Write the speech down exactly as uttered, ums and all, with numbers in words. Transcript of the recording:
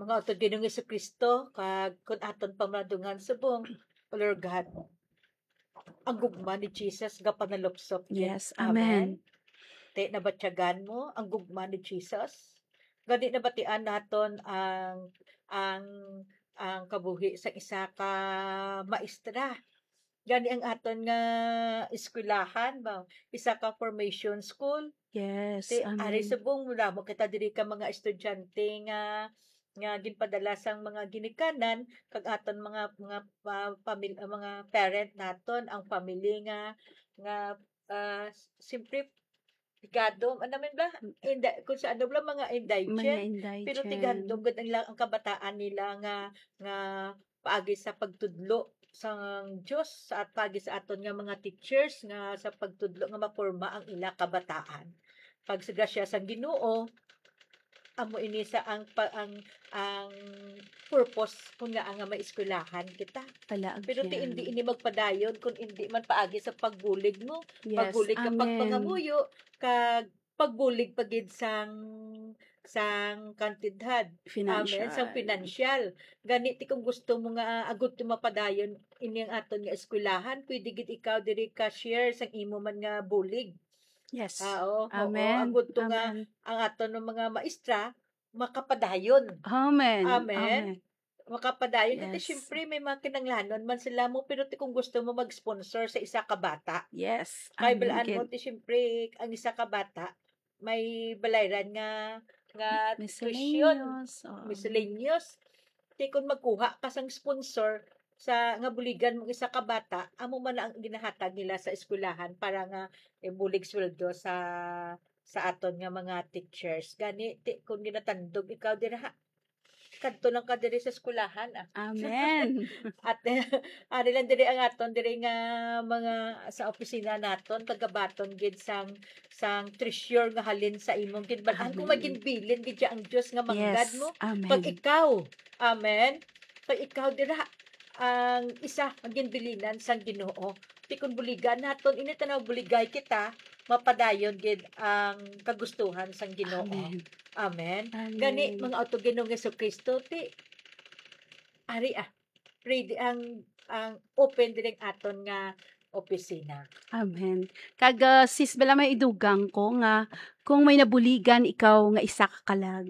Mga utod Ginoong Jesu-Cristo, kag kun aton pamalandungan subong, O Lord God, ang gugma ni Jesus gapanalupsop gid. Yes, amen. Amen. Ti nabatyagan mo ang gugma ni Jesus. Gani nabatian naton ang, ang, ang kabuhi sang isa ka maestra. Gani ang aton nga eskwelahan ba, isa ka formation school. Yes, ti, ari amen. Subong wala mo kita diri ka mga estudyante nga, nga ginpadala sang mga ginikanan, kag aton mga, mga, ah, pamil-, ah, mga parent naton, ang family nga, nga, ah, s-, siyempre, higado, ano man ba? Indi-, kung sa ano ba, mga indigent. Mga indigent. Pero tighandom gud ang, ang kabataan nila nga, nga paagi sa pagtudlo sang Dios at paagi sa aton nga mga teachers nga sa pagtudlo nga maporma ang ila kabataan. Pag sa grasya sang Ginoo, amo ini sa ang pa-, ang, ang purpose kun nga nga may eskwelahan kita. Palaagyan. Pero ti indi ini magpadayon kun indi man paagi sa pagbulig mo. Yes, pagbulig ka, amen. Pagpangamuyo, kag pagbulig pa gid sang, sang kantidad. Financial. Amen, sang financial. Gani ti kung gusto mo nga, ah, agud ti mapadayon ini ang aton nga eskwelahan, pwede gid ikaw diri ka share sang imo man nga bulig. Yes. Ah, oo, oo. Amen. Agud to nga amen. Ang aton nga mga maestra makapadayon. Amen. Amen. Amen. Makapadayon. Iti, yes. Siyempre, may mga kinanglanon man sila mo, pero ti kung gusto mo mag-sponsor sa isa ka bata. Yes. Kay amen, balaan mo, gid. Ti siyempre, ang isa ka bata, may balayran nga, nga tuition. Miscellaneous, oo. Miscellaneous. Ti kung magkuha ka sang sponsor sa, nga buligan mo isa ka bata, amo man ang ginahatag nila sa eskwelahan para nga ibulig sweldo sa, sa aton nga mga teachers. Gani, ti, kung ginatandog ikaw dira, ha, kadto lang ka diri sa eskwelahan, ah. Amen. At, eh, ari lang diri ang aton diri nga mga sa opisina naton, kagabaton gid sang, sang treasure nga halin sa imong ginban-an. Kung may amen. Ginbilin gid siya ang Dios nga manggad yes. Mo, amen. Pag ikaw, amen, pag ikaw dira ang isa nga ginbilinan sang Ginoo, ti kun buligan naton, ini tanaw buligay kita, mapadayon gid ang kagustuhan sang Ginoo. Amen. Amen. Amen. Gani, mga utod Ginoong Jesu-Cristo, ti, ari, ah, ready ang, ang open diri ang aton nga opisina. Amen. Kag, ah, sis, bala may idugang ko nga kung may nabuligan ikaw nga isa ka kalag,